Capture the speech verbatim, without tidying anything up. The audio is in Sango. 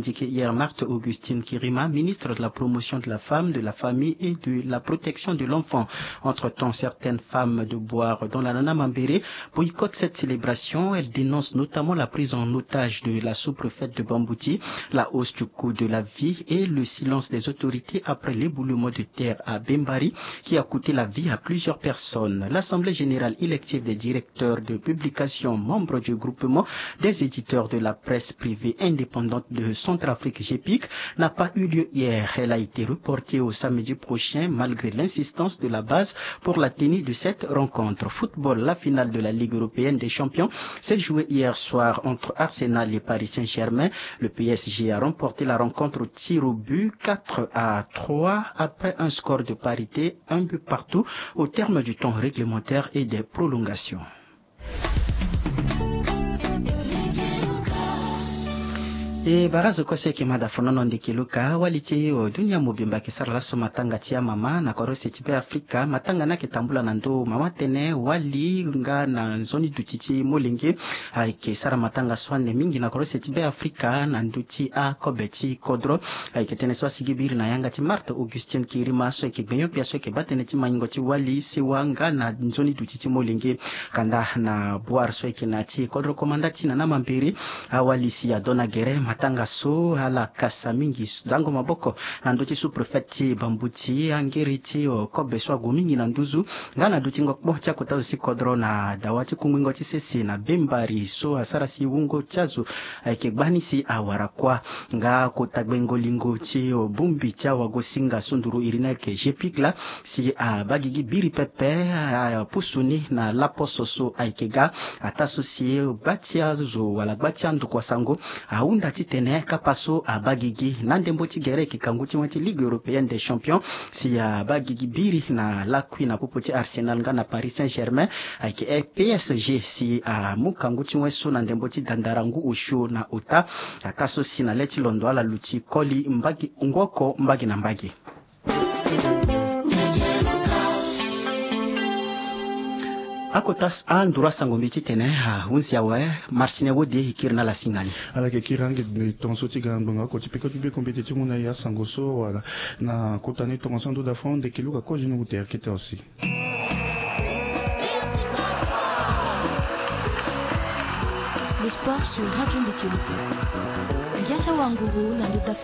Indiqué hier, Marthe Augustine Kirima, ministre de la Promotion de la Femme, de la Famille et de la Protection de l'Enfant. Entre-temps, certaines femmes de Bouar dans la Nana Mambéré boycottent cette célébration. Elles dénoncent notamment la prise en otage de la sous-préfète de Bambouti, la hausse du coût de la vie et le silence des autorités après l'éboulement de terre à Bembari qui a coûté la vie à plusieurs personnes. L'Assemblée générale élective des directeurs de publication, membres du groupement des éditeurs de la presse privée indépendante de Centrafrique, GEPIC, n'a pas eu lieu hier. Elle a été reportée au samedi prochain malgré l'insistance de la base pour la tenue de cette rencontre. Football, la finale de la Ligue européenne des champions s'est jouée hier soir entre Arsenal et Paris Saint-Germain. Le P S G a remporté la rencontre au tir au but, quatre à trois, après un score de parité, un but partout, au terme du temps réglementaire et des prolongations. E barazo kue so eke ma da fonono ndeke luka wali ti, o, dunia mobimba eke sara laso matanga ti amama na korose ti Be Afrika. Matanga ni ayeke tambula na ndo mama tënë wali nga na nzoni duti ti molenge. Ayeke sara matanga so ande mingi na korose ti Be Afrika na ndö ti akobe ti kodro. Ayeke tënë so asigi biri na yanga ti Marthe Augustine Kirima so ayeke gbenyo-gbia so ayeke baa tënë ti maingo ti wali sewa nga na nzoni duti ti molenge. Kanda na Bouar so ayeke na ti kodro komanda ti Nana Mambéré, awali si adona gere matanga so ala kasa mingi zango maboko na ndö ti sous-préfet ti Bambouti, angiri ti, o, kobe so ague mingi na nduzu nga na dutingo kpo ti akota zo ti kodro na dawa ti kungbingo ti sese na Bembari so asara si wungo ti azo ayeke gbani si awara kuâ. Nga kota gbengo lingo ti, o, bongbi ti awagosinga sunduru iri ni ayeke GEPIC laa si abaa gigi biri pepe, apusu ni na laposo so ayeke ga. Ataa so si gba ti azo wala gba ti andokua sango ahunda titene kapa so abaa gigi na ndembo ti gere ayeke kangu ti wen ti Ligue européenne des champions si abaa gigi biri na lakui na popo ti Arsenal nga na Paris Saint-Germain. Ayeke P S G si amu kangu ti wen so na ndembo ti dandara ngu osio na ota. Ataa so si na le ti londo ala luti koli mbage ngu oko mbage na mbage. Akota anduru asango mbi titene ahunzi awe. Martine Wode e kiri na ala singa ni. Ala yeke kiri ange tongaso ti ga ngbonga oko ti peko ti bekombete ti mu na e asango so wala na kota ni tongaso ando da fond ndeke luka kozi ni ute akete aussi. Le sport sur Radio Ndeke Luka. Ngia ti awanguru na ndö ti